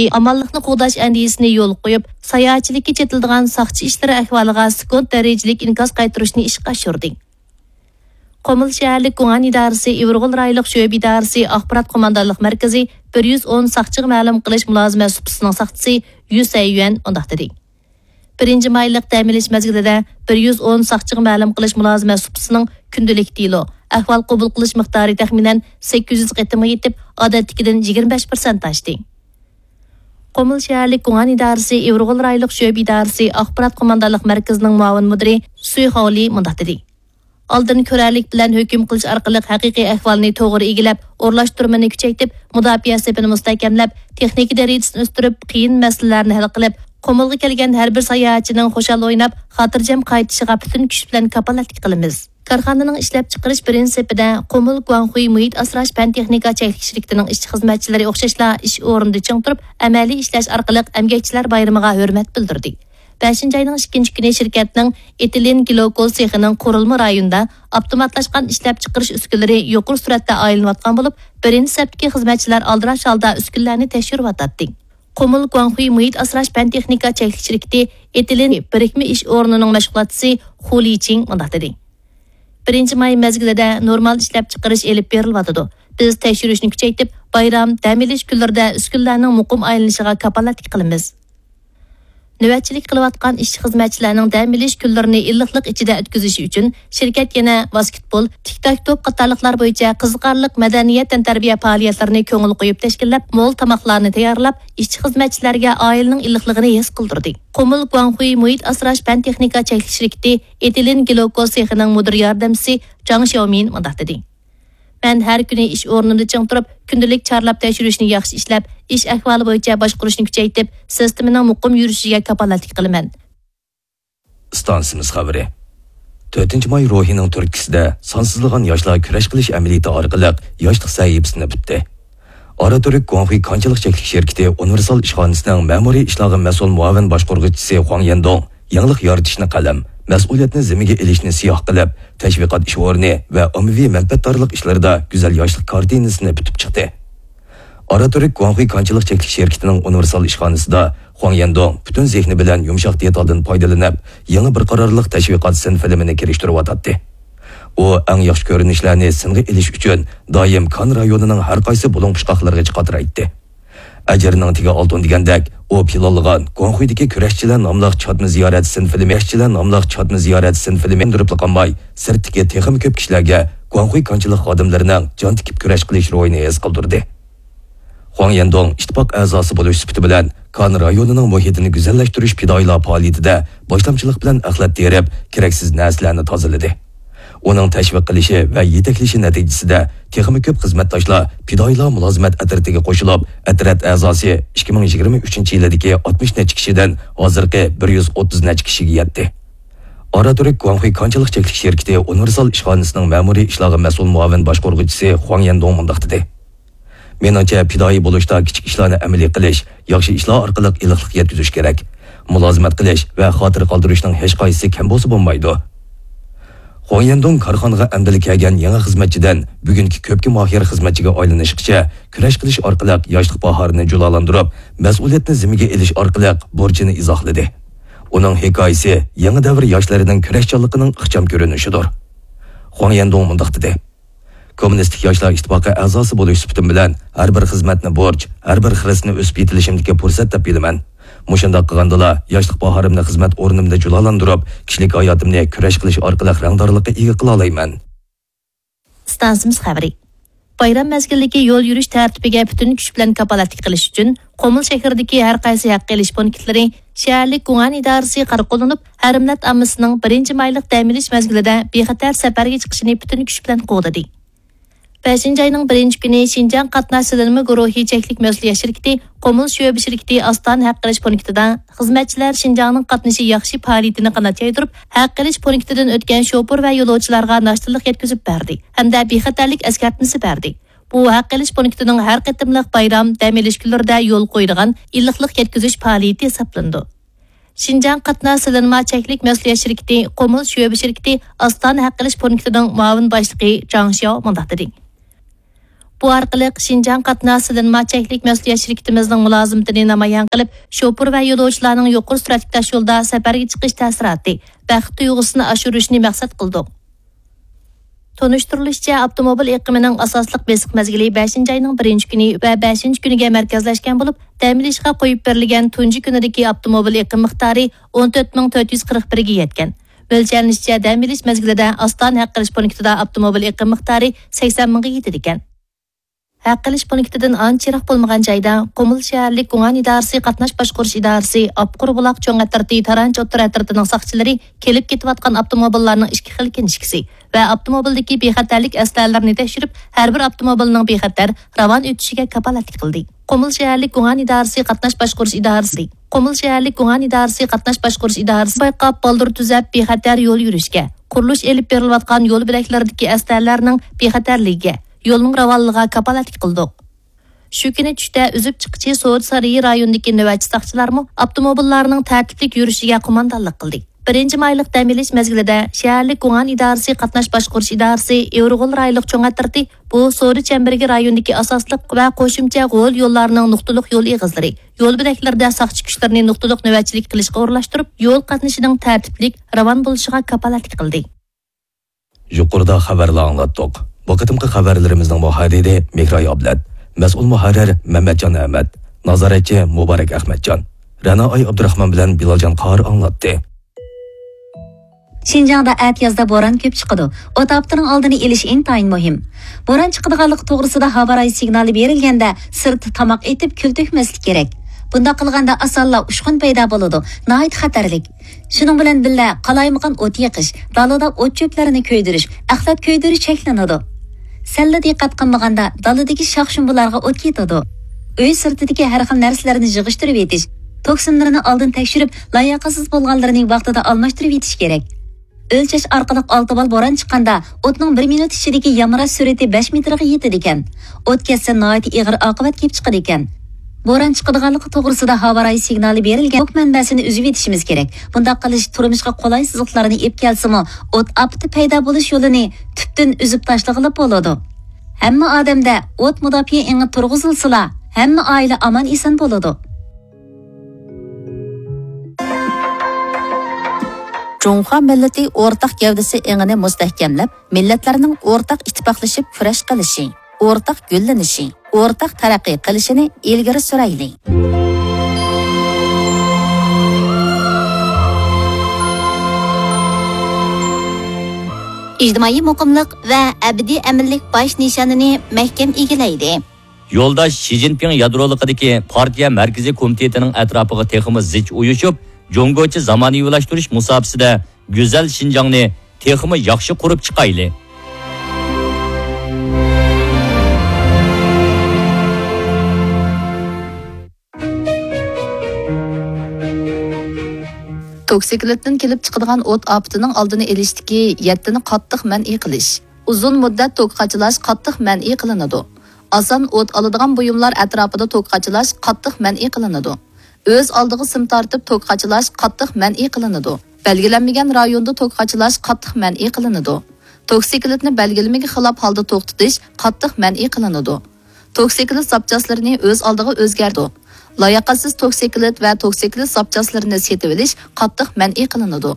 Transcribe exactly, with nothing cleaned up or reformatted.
ئامانلىقنى قوغداش ئەندىزىسىنى يولغا قويۇپ، ساياھەتچىلىككە چېتىلىدىغان ساقچى ئىشلىرى ئەھۋالىغا سېكۇنت دەرىجىلىك ئىنكاس قايتۇرۇشنى ئىشقا ئاشۇردى. قۇمۇل شەھەرلىك گۇڭئەن ئىدارىسى ئىۋىرغول رايونلۇق شۆبە ئىدارىسى ئاخبارات قوماندانلىق مەركىزى بىر يۈز ئون ساقچىغا مەلۇم قىلىش مۇلازىمەت سۇپىسىنىڭ ساقچىسى يۈ سەييۈەن مۇنداق دېدى. بىرىنچى مايلىق دەم ئېلىش مەزگىلىدە بىر يۈز ئون ساقچىغا مەلۇم قىلىش مۇلازىمەت سۇپىسىنىڭ كۈندىلىك دېلو، ئەھۋال قوبۇل قىلىش مىقدارى تەخمىنەن سەككىز يۈز قېتىمغا يېتىپ، ئادەتتىكىدىن يىگىرمە بەش پىرسەنت ئاشتى. قۇمۇل شەھەرلىك گۇڭئەن ئىدارىسى ئىۋىرغول رايونلۇق شۆبە ئىدارىسى ئاخبارات قوماندانلىق مەركىزىنىڭ مۇئاۋىن مۇدىرى سۈي خاۋلى مۇنداق دېدى. ئالدىن كۆرەرلىك بىلەن ھۆكۈم قىلىش ئارقىلىق ھەقىقىي ئەھۋالنى توغرا ئىگىلەپ، ئورۇنلاشتۇرمىنى كۈچەيتىپ، مۇداپىئە سېپىنى مۇستەھكەملەپ، تېخنىكا دەرىجىسىنى ئۆستۈرۈپ، قىيىن مەسىلىلەرنى ھەل قىلىپ، قۇمۇلغا كەلگەن ھەر بىر ساياھەتچىنىڭ خۇشال ئويناپ، خاتىرجەم قايتىشىغا پۈتۈن كۈچ بىلەن كاپالەتلىك قىلىمىز. كارخانىنىڭ ئىشلەپچىقىرىش بىرىنچى سېپىدە قۇمۇل گۇاڭخۇي مۇھىت ئاسراش پەن تېخنىكا چەكلىك شىركىتىنىڭ ئىشچى-خىزمەتچىلىرى ئوخشاشلا ئىش ئورنىدا چىڭ تۇرۇپ، ئەمەلىي ئىشلەش ئارقىلىق ئەمگەكچىلەر بايرىمىغا ھۆرمەت بىلدۈردى. بەشىنچى ئاينىڭ ئىككىنچى كۈنى شىركەتنىڭ ئېتىلېن گلوكول سېخىنىڭ قۇرۇلما رايونىدا ئاپتوماتلاشقان ئىشلەپچىقىرىش ئۈسكۈنىلىرى يۇقىرى سۈرئەتتە ئايلىنىۋاتقان بولۇپ، بىرىنچى سەپتىكى خىزمەتچىلەر ئالدىراش ھالدا ئۈسكۈنىلەرنى تەكشۈرۈۋاتاتتى. قۇمۇل گۇاڭخۇي مۇھىت ئاسراش پەن تېخنىكا چەكلىك شىركىتى ئېتىلېن بىرىكمە ئىش ئورنىنىڭ مەشغۇلاتچىسى خۇ لىچىڭ مۇنداق دېدى. بىرىنچى ماي مەزگىلىدە نورمال ئىشلەپچىقىرىش ئېلىپ بېرىلىۋاتىدۇ. بىز تەكشۈرۈشنى كۈچەيتىپ، بايرام، دەم ئېلىش كۈنلىرىدە ئۈسكۈنىلەرنىڭ مۇقىم ئايلىنىشىغا كاپالەتلىك قىلىمىز. نۆۋەتچىلىك قىلىۋاتقان ئىشچى-خىزمەتچىلەرنىڭ دەم ئېلىش كۈنلىرىنى ئىللىقلىق ئىچىدە ئۆتكۈزۈشى ئۈچۈن، شىركەت يەنە ۋاسكېتبول، تىك-تاك توپ قاتارلىقلار بويىچە قىزىقارلىق مەدەنىيەت تەنتەربىيە پائالىيەتلىرىنى كۆڭۈل قويۇپ تەشكىللەپ، مول تاماقلارنى تەييارلاپ، ئىشچى-خىزمەتچىلەرگە ئائىلىنىڭ ئىللىقلىقىنى ھېس قىلدۇردى. قۇمۇل گۇاڭخۇي مۇھىت ئاسراش پەن تېخنىكا چەكلىك شىركىتى ئېتىلېن گلوكول سېخىنىڭ مۇدىر ياردەمچىسى جاڭ شياۋمىن مۇنداق دېدى. مەن ھەر كۈنى ئىش ئورنۇمدا چىڭ تۇرۇپ، كۈندىلىك چارلاپ تەكشۈرۈشنى ياخشى ئىشلەپ، ئىش ئەھۋالى بويىچە باشقۇرۇشنى كۈچەيتىپ، سىستېمىنىڭ مۇقىم يۈرۈشىگە كاپالەتلىك قىلىمەن. ئىستانسىمىز خەۋىرى. تۆتىنچى ماي روھىنىڭ تۈرتكىسىدە سانسىزلىغان ياشلار كۈرەش قىلىش ئەمەلىيىتى ئارقىلىق ياشلىق سەھىپىسىنى پۈتتى. ئاراتۈرك گۇاڭخۇي كانچىلىق چەكلىك شىركىتى ئۇنىۋېرسال ئىشخانىسىنىڭ مەمۇرىي ئىشلارغا مەسئۇل مۇئاۋىن باشقۇرغۇچىسى خۇاڭ يەندۇڭ يېڭىلىق يارىتىشنى قەلەم، مەسئۇلىيەتنى زىممىگە ئېلىشنى سىياھ قىلىپ، تەشۋىقات ئىش ئورنى ۋە ئاممىۋى مەنپەئەتدارلىق ئىشلىرىدا گۈزەل ياشلىق كارتىنىسىنى پۈتۈپ چىقتى. ئاراتۈرك گۇاڭخۇي كانچىلىق چەكلىك شىركىتىنىڭ ئۇنىۋېرسال ئىشخانىسىدا خۇاڭ يەندۇڭ پۈتۈن زېھنى بىلەن يۇمشاق دېتالدىن پايدىلىنىپ، يېڭى بىر قارارلىق تەشۋىقات سىن فىلىمىنى كىرىشتۈرۈۋاتاتتى. ئۇ ئەڭ ياخشى كۆرۈنۈشلەرنى سىنغا ئېلىش ئۈچۈن دائىم كان رايونىنىڭ ھەر قايسى بۇلۇڭ-پۇچقاقلىرىغا چىقاترايتتى. ئەجىرنىڭ تېگى ئالتۇن دېگەندەك، ئۇ پىلانلىغان گۇاڭخۇيدىكى كۈرەشچىلەر ناملىق چاتما زىيارەت سىن فىلىمى، كۈرەشچىلەر ناملىق چاتما زىيارەت سىن فىلىمى ئۈندۈرۈپلا قالماي، سىرتتىكى تېخىمۇ كۆپ كىشىلەرگە گۇاڭخۇي كانچىلىق خادىملىرىنىڭ جان تىكىپ كۈرەش قىلىش روھىنى ھېس قىلدۇردى. خۇاڭ يەندۇڭ ئىتتىپاق ئەزاسى بولۇش سۈپىتى بىلەن، كان رايونىنىڭ مۇھىتىنى گۈزەللەشتۈرۈش پىدائىيلار پائالىيىتىدە باشلامچىلىق بىلەن ئەخلەت تېرىپ، كېرەكسىز نەرسىلەرنى تازىلىدى. ئۇنىڭ تەشۋىق قىلىشى ۋە يېتەكلىشى نەتىجىسىدە، تېخىمۇ كۆپ خىزمەتداشلار پىدائىيلار مۇلازىمەت ئەترىتىگە قوشۇلۇپ، ئەترەت ئەزاسى ئىككى مىڭ يىگىرمە ئۈچىنچى يىلىدىكى ئاتمىش نەچچە كىشىدىن ھازىرقى بىر يۈز ئوتتۇز نەچچە كىشىگە يەتتى. ئاراتۈرك گۇاڭخۇي كانچىلىق چەكلىك شىركىتى ئۇنىۋېرسال ئىشخانىسىنىڭ مەمۇرىي ئىشلارغا مەسئۇل مۇئاۋىن باشقۇرغۇچىسى خۇاڭ يەندۇڭ مۇنداق دېدى. مېنىڭچە، پىدائىي بولۇشتا كىچىك ئىشلارنى ئەمەلىي قىلىش، ياخشى ئىشلار ئارقىلىق ئىللىقلىق يەتكۈزۈش كېرەك. مۇلازىمەت قىلىش ۋە خاتىرە قالدۇرۇشنىڭ ھېچقايسىسى كەم بولسا بولمايدۇ. خۇاڭ يەندۇڭ كارخانىغا ئەمدىلا كەلگەن يېڭى خىزمەتچىدىن بۈگۈنكى كۆپكە ماھىر خىزمەتچىگە ئايلىنىشقىچە كۈرەش قىلىش ئارقىلىق ياشلىق باھارىنى جۇلالاندۇرۇپ، مەسئۇلىيەتنى زىممىگە ئېلىش ئارقىلىق بۇرچىنى ئىزاھلىدى. ئۇنىڭ ھېكايىسى يېڭى دەۋر ياشلىرىنىڭ كۈرەشچانلىقىنىڭ ئىخچام كۆرۈنۈشىدۇر. خۇاڭ يەندۇڭ مۇنداق دېدى. كوممۇنىستىك ياشلار ئىتتىپاقى ئەزاسى بولۇش سۈپىتىم بىلەن، ھەر بىر خىزمەتنى بۇرچ، ھەر بىر خىرىسنى ئۆسۈپ يېتىلىشىمدىكى پۇرسەت دەپ بىلىمەن. مۇشۇنداق قىلغاندىلا، ياشلىق باھارىمنى خىزمەت ئورنۇمدا جۇلالاندۇرۇپ، كىشىلىك ھاياتىمنى كۈرەش قىلىش ئارقىلىق رەڭدارلىققا ئىگە قىلالايمەن. ئىستانسىمىز خەۋىرى. بايرام مەزگىلىدىكى يول يۈرۈش تەرتىپىگە پۈتۈن كۈچ بىلەن كاپالەتلىك قىلىش ئۈچۈن، قۇمۇل شەھىرىدىكى ھەر قايسى ھەق ئېلىش پونكىتلىرى شەھەرلىك گۇڭئەن ئىدارىسى قارا قوللىنىپ، ھەر مىللەت ئاممىسىنىڭ بىرىنچى مايلىق دەم ئېلىش مەزگىلىدە بىخەتەر سەپەرگە چىقىشىنى پۈتۈن كۈچ بىلەن قوغدىدى. بەشىنچى ئاينىڭ بىرىنچى كۈنى شىنجاڭ قاتناش سېلىنما گۇرۇھى چەكلىك مەسئۇلىيەت شىركىتى قۇمۇل شۆبە شىركىتى ئاستانە ھەق ئېلىش پونكىتىدا خىزمەتچىلەر شىنجاڭنىڭ قاتنىشى ياخشى پائالىيىتىنى قانات يايدۇرۇپ، ھەق ئېلىش پونكىتىدىن ئۆتكەن شوپۇر ۋە يولۇچىلارغا ناشتىلىق يەتكۈزۈپ بەردى ھەمدە بىخەتەرلىك ئەسكەرتمىسى بەردى. بۇ ھەق ئېلىش پونكىتىنىڭ ھەر قېتىملىق بايرام، دەم ئېلىش كۈنلىرىدە يولغا قويىدىغان ئىللىقلىق يەتكۈزۈش پائالىيىتى ھېسابلىنىدۇ. شىنجاڭ قاتناش سېلىنما چەكلىك مەسئۇلىيەت شىركىتى قۇمۇل شۆبە شىركىتى ئاستانە ھەق ئېلىش پونكىتىنىڭ مۇئاۋىن باشلىقى جاڭ شياۋ مۇنداق دېدى. بۇ ئارقىلىق شىنجاڭ قاتناش سېلىنما چەكلىك مەسئۇلىيەت شىركىتىمىزنىڭ مۇلازىمىتىنى نامايان قىلىپ، شوپۇر ۋە يولۇچىلارنىڭ يۇقىرى سۈرئەتلىك تاشيولدا سەپەرگە چىقىش تەسىراتى، بەخت تۇيغۇسىنى ئاشۇرۇشنى مەقسەت قىلدۇق. تونۇشتۇرۇلۇشىچە، ئاپتوموبىل ئېقىمىنىڭ ئاساسلىق بېسىق مەزگىلى بەشىنچى ئاينىڭ بىرىنچى كۈنى ۋە بەشىنچى كۈنىگە مەركەزلەشكەن بولۇپ، دەم ئېلىشقا قويۇپ بېرىلگەن تۇنجى كۈنىدىكى ئاپتوموبىل ئېقىم مىقدارى ئون تۆت مىڭ تۆت يۈز قىرىق بىرگە يەتكەن. مۆلچەرلىنىشىچە، دەم ئېلىش مەزگىلىدە ئاستانە ھەق ئېلىش پونكىتىدا ئاپتوموبىل ئېقىم مىقدارى سەكسەن مىڭغا يېتىدىكەن. ھەق ئېلىش پونكىتىدىن ئانچە يىراق بولمىغان جايدا قۇمۇل شەھەرلىك گۇڭئەن ئىدارىسى قاتناش باشقۇرۇش ئىدارىسى، ئاپقۇر بۇلاق چوڭ ئەترىتى، تارانچى ئوتتۇرا ئەترىتىنىڭ ساقچىلىرى كېلىپ كېتىۋاتقان ئاپتوموبىللارنىڭ ئىككى خىل كىنىشكىسى ۋە ئاپتوموبىلدىكى بىخەتەرلىك ئەسلىھەلىرىنى تەكشۈرۈپ، ھەر بىر ئاپتوموبىلنىڭ بىخەتەر راۋان ئۆتۈشىگە كاپالەتلىك قىلدى. قۇمۇل شەھەرلىك گۇڭئەن ئىدارىسى قاتناش باشقۇرۇش ئىدارىسى، قۇمۇل شەھەرلىك گۇڭئەن ئىدارىسى قاتناش باشقۇرۇش ئىدارىسى بايقاپ، بالدۇر تۈزەپ، بىخەتەر يول يۈرۈشكە، قۇرۇلۇش ئېلىپ بېرىلىۋاتقان يول بۆلەكلىرىدىكى ئەسلىھەلەرنىڭ بىخەتەرلىكىگە، يولنىڭ راۋانلىقىغا كاپالەتلىك قىلدۇق. شۇ كۈنى چۈشتە ئۈزۈپ چىققۇچى سودا سارىيى رايونىدىكى نۆۋەتچى ساقچىلارمۇ ئاپتوموبىللارنىڭ تەرتىپلىك يۈرۈشىگە قوماندانلىق قىلدى. بىرىنچى مايلىق دەم ئېلىش مەزگىلىدە شەھەرلىك گۇڭئەن ئىدارىسى قاتناش باشقۇرۇش ئىدارىسى ئېۋرىغول رايونلۇق چوڭ ئەترىتى بۇ سودا چەمبىرىكى رايونىدىكى ئاساسلىق ۋە قوشۇمچە غول يوللارنىڭ نۇقتىلىق يول ئېغىزلىرى، يول بۆلەكلىرىدە ساقچى كۈچلىرىنى نۇقتىلىق نۆۋەتچىلىك قىلىشقا ئورۇنلاشتۇرۇپ، يول قاتنىشىنىڭ تەرتىپلىك، راۋان بولۇشىغا كاپالەتلىك قىلدى. يۇقىرىدا خەۋەرلەر ئاڭلاتتۇق. بۇ قېتىمقى خەۋەرلىرىمىزنىڭ مۇھەررىرى مېھراي ئابلەت، مەسئۇل مۇھەررىر مەمەتجان ئەمەت، نازارەتچى مۇبارەك ئەخمەتجان، رەنا ئاي ئابدۇراخمان بىلەن بىلالجان قارى ئاڭلاتتى. شىنجاڭدا ئەتىيازدا بوران كۆپ چىقىدۇ. ئوت ئاپىتىنىڭ ئالدىنى ئېلىش ئىنتايىن مۇھىم. بوران چىقىدىغانلىقى توغرىسىدا ھاۋا رايى سىگنالى بېرىلگەندە، سىرتتا تاماق ئېتىپ، كۈل تۆكمەسلىك كېرەك. بۇنداق قىلغاندا ئاسانلا ئۇچقۇن پەيدا بولىدۇ، ناھايىتى خەتەرلىك. شۇنىڭ بىلەن بىللە، قالايمىقان ئوت يېقىش، دالىدا ئوت-چۆپلەرنى كۆيدۈرۈش، ئەخلەت كۆيدۈرۈش چەكلىنىدۇ. سەللا دىققەت قىلمىغاندا، دالىدىكى شاخ-شۇمبىلارغا ئوت كېتىدۇ. ئۆي سىرتىدىكى ھەر خىل نەرسىلەرنى يىغىشتۇرۇۋېتىش، توكسىنلىرىنى ئالدىن تەكشۈرۈپ، لاياقەتسىز بولغانلىرىنى ۋاقتىدا ئالماشتۇرۇۋېتىش كېرەك. ئۆلچەش ئارقىلىق ئالتە بال بوران چىققاندا، ئوتنىڭ بىر مىنۇت ئىچىدىكى يامراش سۈرئىتى بەش مېتىرغا يېتىدىكەن. ئوت كەتسە، ناھايىتى ئېغىر ئاقىۋەت كېلىپ چىقىدىكەن. بوران چىقىدىغانلىقى توغرىسىدا ھاۋا رايى سىگنالى بېرىلگەن توك مەنبەسىنى ئۈزۈۋېتىشىمىز كېرەك. بۇنداق قىلىش تۇرمۇشقا قولاي سىزىقلارنى ئېلىپ كەلسىمۇ، ئوت ئاپىتى پەيدا بولۇش يولىنى تۈپتىن ئۈزۈپ تاشلىغىلى بولىدۇ. ھەممە ئادەمدە ئوت مۇداپىئە ئېڭى تۇرغۇزۇلسىلا، ھەممە ئائىلە ئامان-ئېسەن بولىدۇ. جۇڭخۇا مىللىتى ئورتاق گەۋدىسى ئېڭىنى مۇستەھكەملەپ، مىللەتلەرنىڭ ئورتاق ئىتتىپاقلىشىپ كۈرەش قىلىشى، ئورتاق گۈللىنىشى، ئورتاق تەرەققىي قىلىشىنى ئىلگىرى سۈرەيلى. ئىجتىمائىي مۇقىملىق ۋە ئەبەدىي ئەمىنلىك باش نىشانىنى مەھكەم ئىگىلەيلى. يولداش شى جىنپىڭ يادرولۇقىدىكى پارتىيە مەركىزىي كومىتېتىنىڭ ئەتراپىغا تېخىمۇ زىچ ئۇيۇشۇپ، جۇڭگوچە زامانىۋىلاشتۇرۇش مۇساپىسىدە گۈزەل شىنجاڭنى تېخىمۇ ياخشى قۇرۇپ چىقايلى. توكسىكلىتتىن كېلىپ چىقىدىغان ئوت ئاپىتىنىڭ ئالدىنى ئېلىشتىكى يەتتىنى قاتتىق مەنئى قىلىش. ئۇزۇن مۇددەت توك قاچىلاش قاتتىق مەنئى قىلىنىدۇ. ئاسان ئوت ئالىدىغان بۇيۇملار ئەتراپىدا توك قاچىلاش قاتتىق مەنئى قىلىنىدۇ. ئۆز ئالدىغا سىم تارتىپ توك قاچىلاش قاتتىق مەنئى قىلىنىدۇ. بەلگىلەنمىگەن رايوندا توك قاچىلاش قاتتىق مەنئى قىلىنىدۇ. توكسىكلىتنى بەلگىلىمىگە خىلاپ ھالدا توختىتىش قاتتىق مەنئى قىلىنىدۇ. توكسىكلىت زاپچاسلىرىنى ئۆز ئالدىغا ئۆزگەرتىدۇ. لاياقەتسىز توكسىكلىت ۋە توكسىكلىت زاپچاسلىرىنى سېتىۋېلىش قاتتىق مەنئى قىلىنىدۇ.